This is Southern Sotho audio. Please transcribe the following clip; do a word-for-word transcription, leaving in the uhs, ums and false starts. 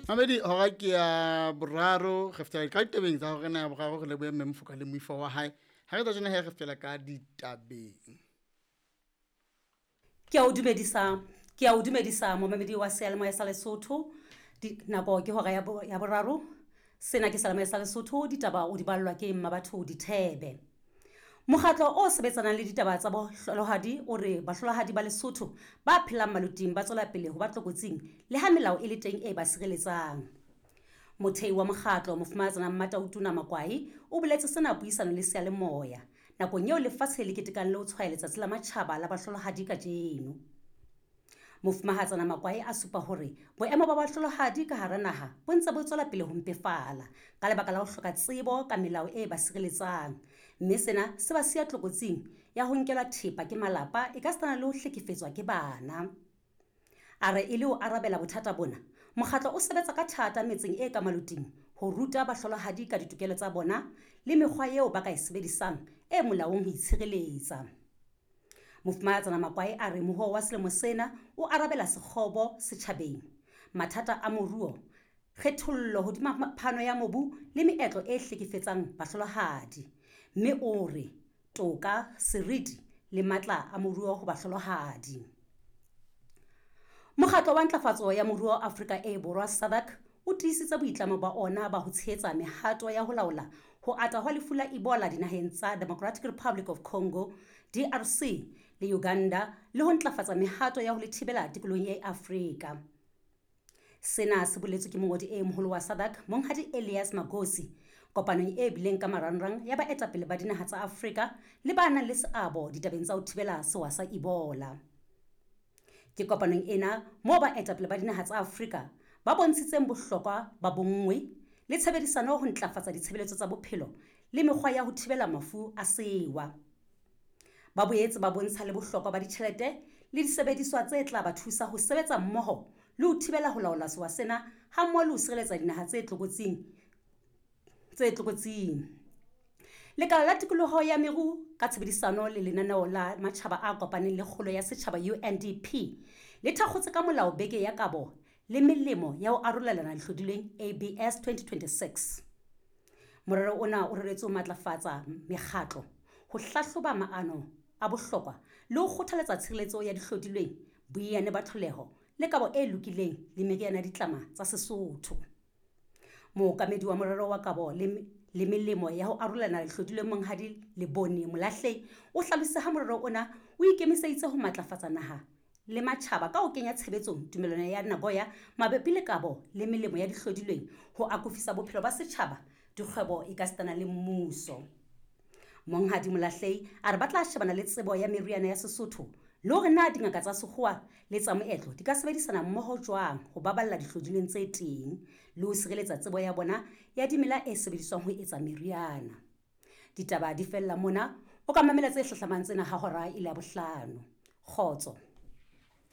Mamedi hora ke ya boraro re fetela ka ditabeng tsa hore na ya boraro re lebohe mme Mofoka le moifo wa hae. Ha re tla tjena he re fetela ka ditabeng. Ke a o dumedisa, ke a o dumedisa momamedi wa seyalemoya sa Lesotho. Di, nako ke hora ya, bo, ya boraro. Sena ke seyalemoya sa Lesotho, ditaba o di ballwa ke Mmabatho Dithebe. Mokgatlo o sebetsanang le ditaba tsa bohlolohadi o re bahlolohadi ba Lesotho ba phelang maloting ba tswela pele ho ba tlokotsing le ha melao e le teng e ba sireletsang. Mothei wa mokgatlo Mofumahatsana Mmatautona Makwai o boletse sena puisanong le seyalemoya nakong eo lefatshe le ketekang le ho tshwaya letsatsi la matjhaba la bahlolohadi kajeno. Mofumahatsana Makwai a supa hore boemo ba bahlolohadi ka hara naha bo ntse bo tswela pele ho mpefala ka lebaka la ho hloka tsebo ka melao e ba sireletsang, mme sena se ba siya tlokotsing ya ho nkelwa thepa ke malapa e ka sitana le ho hlekefetswa ke bana. A re e le ho arabela bothata bona, mokgatlo o sebetsa ka thata metseng e ka maloting ho ruta bahlolohadi ka ditokelo tsa bona le mekgwa eo ba ka e sebedisang e molaong ho itshireletsa. Mofumahatsana Makwai a re mohoo wa selemo sena o arabela sekgobo setjhabeng, mathata a moruo, kgethollo hodima phano ya mobu le meetlo e hlekefetsang bahlolohadi, mme o re toka, seriti le matla a moruo ho bahlolohadi. Mokgatlo wa Ntlafatso ya Moruo Afrika e Borwa SADC o tiisitse boitlamo ba ona ba ho tshehetsa mehato ya ho laola ho ata hwa lefu la Ebola dinaheng tsa Democratic Republic of Congo, D R C le Uganda le ho ntlafatsa mehato ya ho le thibela tikolohong ya Afrika. Sena se boletswe ke mongodi e moholo wa SADC, Monghadi Elias Magosi, kopanong e bileng ka marangrang ya baetapele ba dinaha tsa Afrika le ba nang le seabo ditabeng tsa ho thibela sewa sa Ebola. Ke kopanong ena moo baetapele ba dinaha tsa Afrika ba bontshitseng bohlokwa ba bonngwe le tshebedisano ho ntlafatsa ditshebeletso tsa bophelo le mekgwa ya ho thibela mafu a sewa. Ba boetse ba bontsha le bohlokwa ba ditjhelete le disebediswa tse tla ba thusa ho sebetsa mmoho le ho thibela ho laola sewa sena hammoho le ho sireletsa dinaha tse tlokotsing tse tlokotsing. Lekala la tikoloho ya meru ka tshebedisano le lenaneo la matjhaba a kopaneng le kgolo ya setjhaba U N D P le thakgotse ka molao beke ya kabo le melemo ya ho arolelana dihlodilweng A B S twenty twenty-six. Morero ona o reretswe ho matlafatsa mekgatlo, ho hlahloba maano a bohlokwa le ho kgothaletsa tshireletso ya dihlodilweng, boiyane ba tlholeho le kabo e lokileng le meriana ya ditlama tsa Sesotho. Mookamedi wa morero wa kabo le, le melemo ya ho arolelana dihlodilweng Monghadi Lebone Molahlei o hlalositse ha morero ona o ikemiseditse ho matlafatsa naha le matjhaba ka ho kenya tshebetsong tumellano ya Nagoya mabapi le kabo le melemo ya dihlodilweng ho akofisa bophelo ba setjhaba, dikgwebo ekasitana le mmuso. Monghadi Molahlei a re ba tla shebana le tsebo ya meriana ya Sesotho le hore na dingaka tsa sekgowa le tsa moetlo di ka sebedisana mmoho jwang ho baballa dihlodilweng tse teng le ho sireletsa tsebo ya bona ya dimela e sebediswang ho etsa meriana. Ditaba di fella mona, o ka mamela tse hlahlamang tsena ha hora e le ya bohlano. Kgotso.